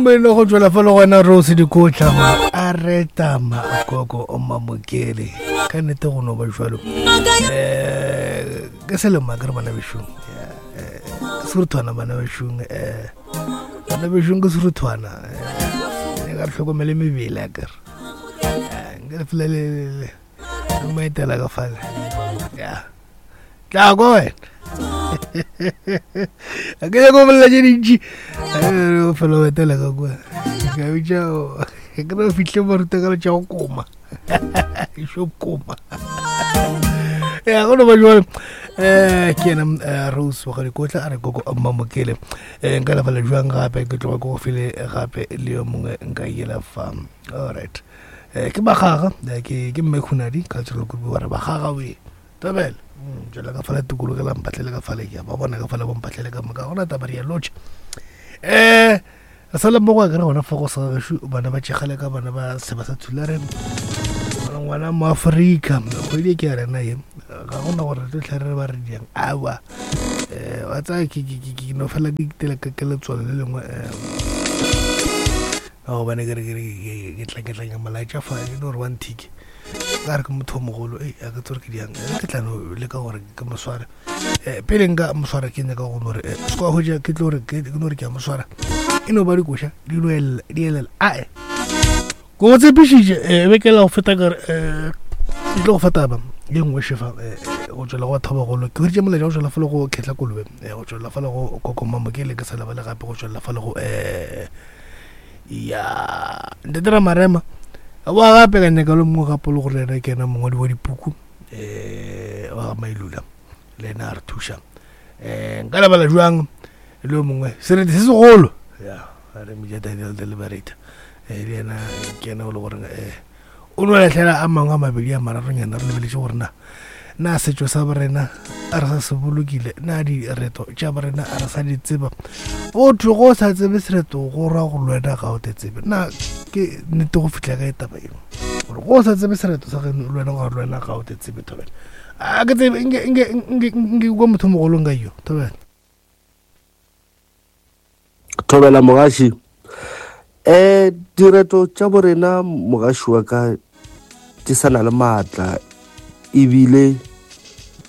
mmino go tswela fa le gona Rose Dikotla a reta makoko o mamokele ka nnete go no ba jalo um ke selema ke re bana bešong ke seruthwana bana bešong um bana bešong ke seruthwana um ka re tlhokomele mebele a kere nke re fela le maetela ka fale ya tla kwa wena a ke nyako bolela tše dintši o fela o etela ka kua ka bitša ke re fitlhe ba ruta ka tša go koma šo koma ya go no ba jwale um ke yena Rose wa Gadikotla a re koko Mmamokele. Um nka lefala jwang gape ke tloga ko go file gape le yo mongwe nka yela fa. Alright, um ke bagaga, ke mme Khunadi cultural group ba re bagaga we tabela jala ka fala tikologo la mpatlele ka fale ke ba bona ka fale bo mpatlele ka moka gona taba re ya lotšha. Re sa le mmogo a kere gona fa go sa gešo bana ba tšegale ka bana ba seba sa Thulare ngwana mo Afrika kgwedi e ke ya rena ye ga gona gore re tlo tlhare re ba re diang awa. Wa tsaya ke no fela ke itela ka letswalo le lengwe ka gobane ke re ke tla ke tla molaetša fa e le gore wa nthike ka re ke motho o mogolo e a ke tsore ke diang ke tla no leka gore ke mo sware. Pele nka mo swara ke nyaka go no re se kwa hwetša ke tlo re ke no re ke a mo swara e no ba dikoša di no elela di elela ae ko go tshepišitše be ke la go feta kare ke tlo go fa taba ye nngwe šefa go tswela go batho ba bagolo. Ke hweditše molaetša go tswela fale go Khetla Kolobe, go tswela fale go Koko Mamokele, ke sa lebale gape go tswela fale go ya Ntate Ramarema wa gape ka nyaka le mongwe gape le gore ena ke ena mongwadi wa dipuku wa ga Mailula le ena a re thuša. Nka lebala jwang le yo mongwe sereti se segolo ya re Meja Daniel the Liberator, le ena ke ena o le goreng o no lahlela a mangwe a mabedi a mararonyana re lebeletše gore na na setšo sa borena a re sa se bolokile, na direto tša borena a re sa di tseba. Botho go sa tsebe sereto go ra go lwena ga o te tsebe. Na ke nnete go fihla ka e taba eo gore go sa tsebe sereto sa geno lwena gore lwena ga o te tsebe thobela a ke tsebe nke kwa motho mogolo nka yo thobela. Thobela mogaši. Direto tša borena mogaši wa ka di sa na le maatla ebile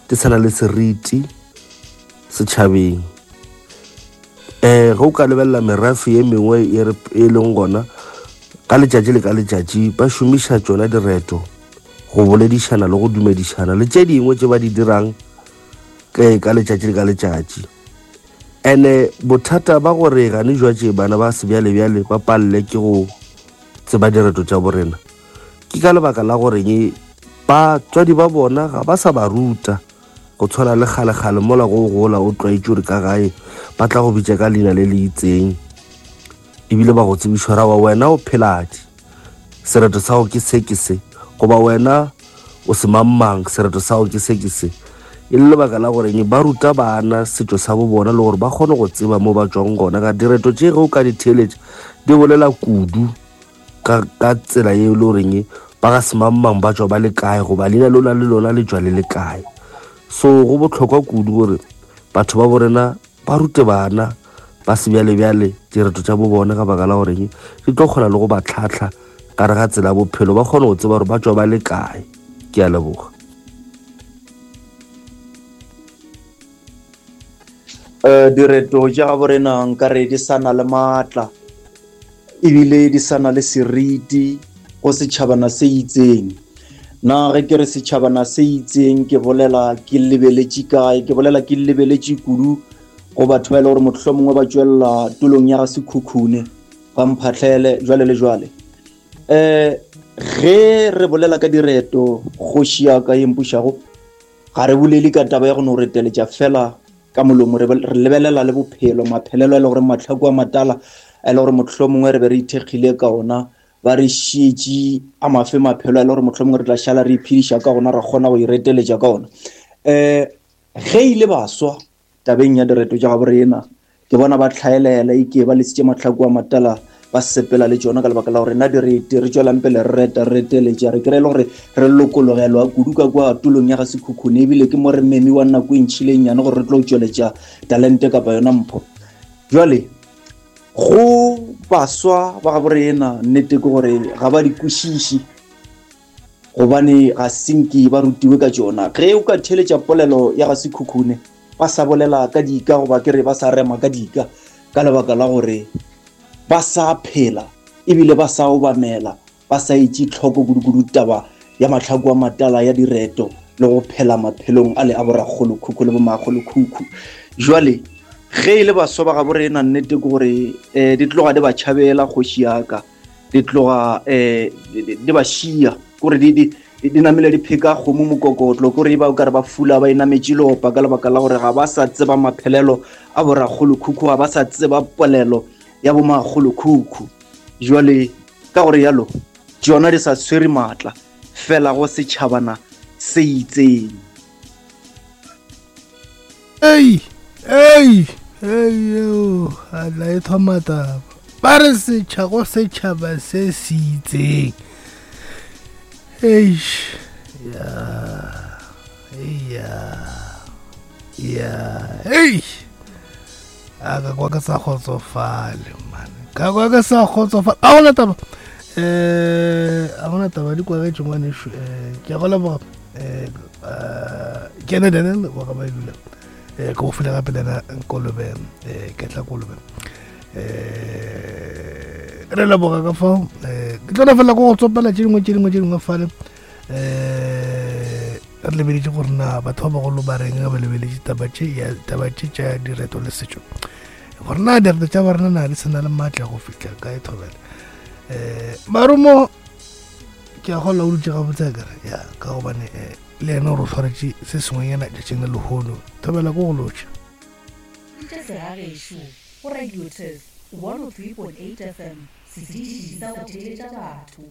di sa na le seriti setšhabeng. Ge o ka lebelela merafe ye mengwe e leng gona ka letšatši le ka letšatši ba šomiša tšona direto go boledišana le go dumedišana le tše dingwe tše ba di dirang ka letšatši le ka letšatši. Ene bothata ba gore gane jwatše bana ba sebjalebjale ba palele ke go tseba direto tša borena ke ka lebaka la goreng batswadi ba bona ga ba sa ba ruta go tshwana le kgalekgale mola go gola o tlwaetše gore ka gae ba tla go bitša ka leina le le itseng ebile ba go tsebišwa ra wa wena o pheladi sereto sa go ke se ke se goba wena o se mang sereto sa go ke se ke se. E le lebaka la goreng ba ruta bana setšo sa bo bona le gore ba kgone go tseba mo ba tswang gona. Ka direto tše ge o ka di theeletša di bolela kudu ka tsela ye e le goreng ba ga semangmang ba tswa ba le kae goba leina lona le lona le tswa le le kae. So go bohlokwa kudu gore batho ba borena ba rute bana ba sebjalebjale direto tša bo bona ka baka la goreng di tlo kgona le go ba tlhatlha gare ga tsela ya bophelo, ba kgone go tseba gore ba tswa ba le kae. Ke a leboga. Direto tša gabo rena nkare di sa na le maatla ebile di sa na le seriti go setšhabana se itseng. Na ge ke re setšhabana se itseng ke bolela ke lebeletše kae? Ke bolela ke lebeletše kudu go batho ba e le gore mohlomongwe ba tšwelela tulong ya ga Sekhukhune, ga Mphahlele, jwale le jwale. Ge re bolela ka direto kgoši ya ka ye mpušago, ga re bolele ka taba ya go no reteletša fela ka molomo, re lebelela le bophelo, maphelelo a e le gore mahlako a matala a e le gore mohlomongwe re be re ithekgile ka ona, ba re šietše a mafe maphelo a e le gore mohlomongwe re tla šala re iphediša ka ona, ra kgona go ireteletša ka ona. Ge ile baswa tabeng ya direto tša gabo rena, ke bona ba tlhaelela ike ba lesitše mahlako a matala ba sepela le tšona ka lebaka la gore na direte re tšwelang pele re reta re reteletša, re kry-e le gore re lokologelwa kudu ka kwa tulong ya ga Sekhukhune, ebile ke mo re memiwa nako e ntšhile e nnyane gore re tlo tšweletša talente kapa yona mpho. Jwale go Baswa ba gabo rena nnete ke gore ga ba di kwešiše gobane ga senke ba rutiwe ka tšona. Ge o ka theeletša polelo ya ga Sekhukhune ba sa bolela ka dika goba ke re ba sa rema ka dika ka lebaka la gore ba sa phela ebile ba sa obamela ba sa etše tlhoko kudukudu taba ya mahlaku a matala ya direto le go phela maphelong a le a borakgolokhukhu le bomakgolokhukhu. Jwale ge e le baswa ba gabo rena nnete ke gore um di tloga di ba tšhabela kgoši yaka di tloga um di ba šia kore di di namile di pheka kgomo mokokotlo kore e ba o kare ba fula ba inametše lopa ka lebaka la gore ga ba sa tseba maphelelo a borakgolokhukhu ga ba sa tseba polelo ya bomakgolokhukhu. Jwale ka gore yalo tšona di sa tshwere maatla fela go setšhabana se itseng. Ei, ei, ei, eo, a la e thoma taba. Ba re setšha go setšhaba se se itseng. Eish, ya, ya, ya, ei. A ka kwa ke sa kgotsofale, man. Ka kwa ke sa kgotsofale. A gona taba. Eh, a gona taba di kwagetše ngwanešu. Eh, ke a go leboga. Eh, ke ene Daniel wa ga Baebula. Eh, ke go file gape le ena Kolobe, eh, Ketla Kolobe. Eh, re leboga ka fao. Eh, ke tlo fela ko go tsopela tše dingwe tše dingwe tše dingwe fale. Eh, re lebeletše gore na batho ba bagolo ba reng ge ba lebeletše taba tše ya taba tše tša direto le setšo gore na direto tša barena na di se na le maatla go fihla kae thobela um marumo ke a gola o dutše gabotse a kere ya ka gobane um le yena o re tshwaretše se sengwenyana tšatšing le lehono thobela ko go lotšha Bitša segagešo go Radio Turf 103.8 FM, setiši sa go theeletša batho.